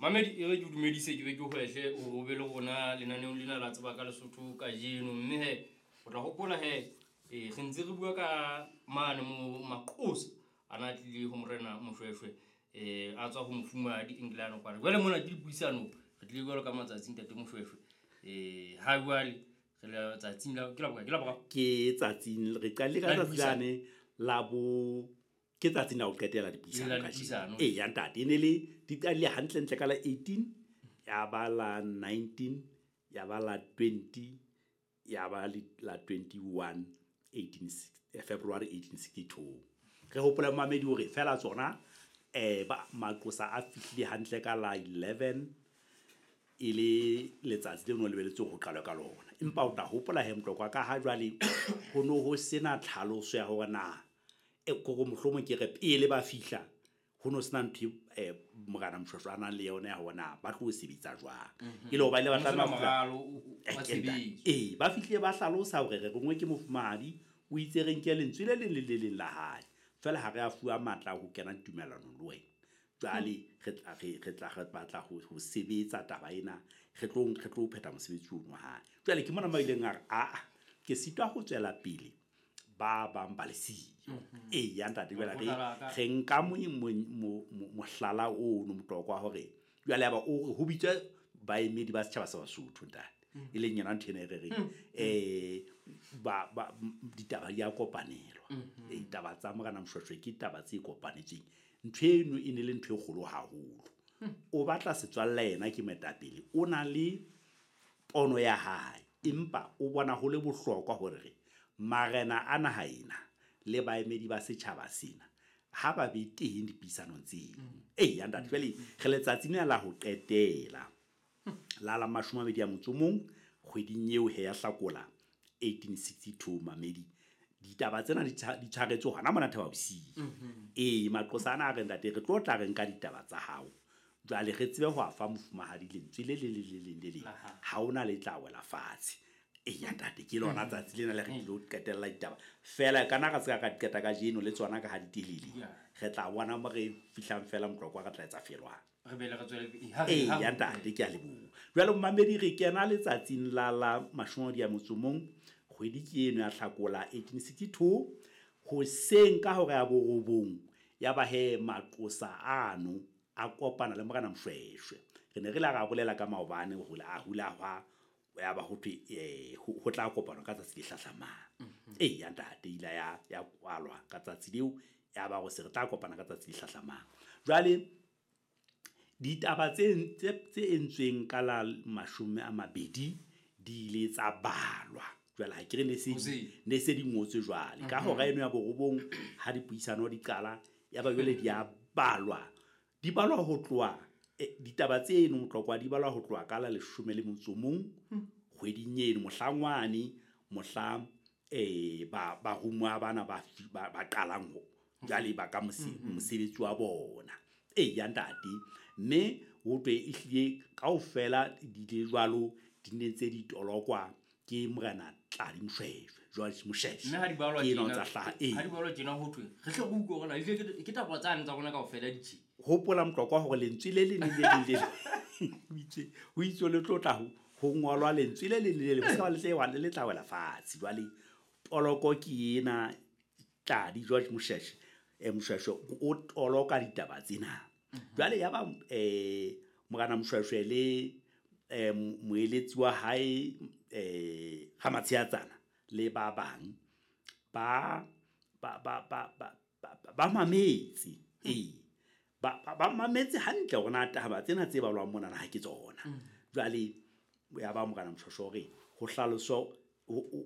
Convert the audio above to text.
Mamedi, e re ke o dumedise, ke be ke hwehle o be le rona lenaneong lena la Tseba ka Lesotho kajeno. Mme he o tla hopola he re ntse re bua ka mane mo maqosa a na tlile ho morena Moshweshwe, a tswa ho mofumahadi Engelane kwana. Jwale mona ke dipuisano, re tlile jwalo ka matsatsi ntate Moshweshwe. Ha jwale re le tsatsing la ke la bokae? Ke la boraro? Ke tsatsing, re qadile ka La tsatsi dipuisano. lane la bo, ke tsatsing la ho qetela dipuisano La kajeno. dipuisano. Ee, ya ntate, e ne le di qadile hantlentle ka la 18, ya ba la 19, ya ba la 20, ya ba le la 21, February 1862. Re hopola mamedi hore fela tsona, ba maqosa a fihlile hantle ka la 11, e le letsatsi leo no lebelletswe ho qalwa ka lona. Empa o tla hopola he Motlokwa, ka ha jwale ho no ho sena tlhaloso ya hore na, kore mohlomong ke re pele ba fihla, ho no sena ntho e morena Moshweshwe a nang le yona ya hore na ba tlo sebetsa jwang. E le hore ba ile ba Ho sena tlameha ho fihla moralo wa tshebetso. Ee, ba fihlile ba hlalosa hore re rongwe ke mofumahadi, o itse re nke lentswe le leng le le leng la hae. Feela ha re a fuwa matla a ho kena tumellanong le wena. Jwale re tla, re, re tla, re batla ho sebetsa taba ena, re tlo phetha mosebetsi ono wa hae. Jwale ke mona mo ileng a re, aa, ke sitwa ho tswela pele ba bang ba le siyo. Ee, ya ntate, jwale Lekgotla la ka. re nka mohlala ono Motlokwa hore jwale ya ba o re ho bitswe baemedi ba setjhaba sa Basotho, ntate. E leng yona ntho ena e re reng, ditaba di a kopanelwa. Taba tsa morena Moshweshwe ke taba tse kopanetsweng. Ntho eno e ne le ntho e kgolo haholo. O batla setswalle yena ke moetapele, o na le pono ya hae, empa o bona ho le bohlokwa hore re marena a naha ena le baemedi ba setjhaba sena ha ba be teng dipuisanong tseo. Ee, ya ntate, jwale re letsatsing lena la ho qetela la mashome a mabedi a motso o mong kgweding eo he ya Hlakola 1862. Mamedi, ditaba tsena di tshwaretswe hona mona Thaba Bosiu. Ee, maqosa ana a re ntate, re tlo tla re nka ditaba tsa hao, jwale re tsebe ho a fa mofumahadi lentswe le leng le le leng le leng, ha hona le tla wela fatshe. Ee, ya ntate, ke lona tsatsi lena le re tlilo qetella ditaba. Feela kana ra se ka qeta kajeno le tsona ka ha di telele. Re tla bona mo re fihlang fela Motlokwa, re tla etsa felwang. Re be le re tswele pele. Ha re Ee, ha ya ntate, ke a leboha. Jwale momamedi, re kena letsatsing la mashome a mabedi a motso o mong, kgwedi ke eno ya Hlakola 1862, hoseng ka hora ya borobong, ya ba he maqosa ano a kopana le morena Moshweshwe. Re ne re la ra bolela ka maobane hore a hula hwa, ya ba ho thwe, ho tla kopanwa ka tsatsi le hlahlamang. Ee, ya ntate, ile ya kwalwa ka tsatsi leo, ya ba ho se re tla kopana ka tsatsi le hlahlamang. Jwale ditaba tse entsweng ka la mashome a mabedi di ile tsa balwa. Jwale ha ke re Hoseng. ne se di ngotswe jwale. Ka hora eno ya borobong ha dipuisano di qala, ya ba jwale di a balwa. Di balwa ho tloha, ditaba tseno Motlokwa di balwa ho tloha ka la leshome le motso o mong, kgweding eno, mohlangwane, mohla, barumuwa bana ba qalang ho, jwale ba ka mosebetsi wa bona. Ee, ya ntate, mme ho thwe ehlile kaofela di ile jwalo, di ne ntse di tolokwa ke morena Tladi Moshweshwe, George Moshweshwe. Mme ha di balwa Ke enwa tjena, tsa hlaha, ee. ha di balwa tjena ho thwe, re hle re utlwe hore na ehlile ke taba tsane tsa rona kaofela di tjhe. Hopola Motlokwa hore lentswe le leng le le leng le leng, ho itswe le tlo tla ho ngolwa lentswe le leng le le leng, ho se ka ba le tle wa, le tla wela fatshe. Jwale toloko ke ena, Tladi George Moshweshwe, Moshweshwe o toloka ditaba tsena. Jwale ya ba, morena Moshweshwe le, moeletsi wa hae, Ramatsheatsana le ba bang ba mametse. Ee, ba mametse hantle hore na taba tsena tse balwang mona na ha ke tsona. Jwale ya ba morena Moshweshwe hore ho hlaloswa, ho, ho,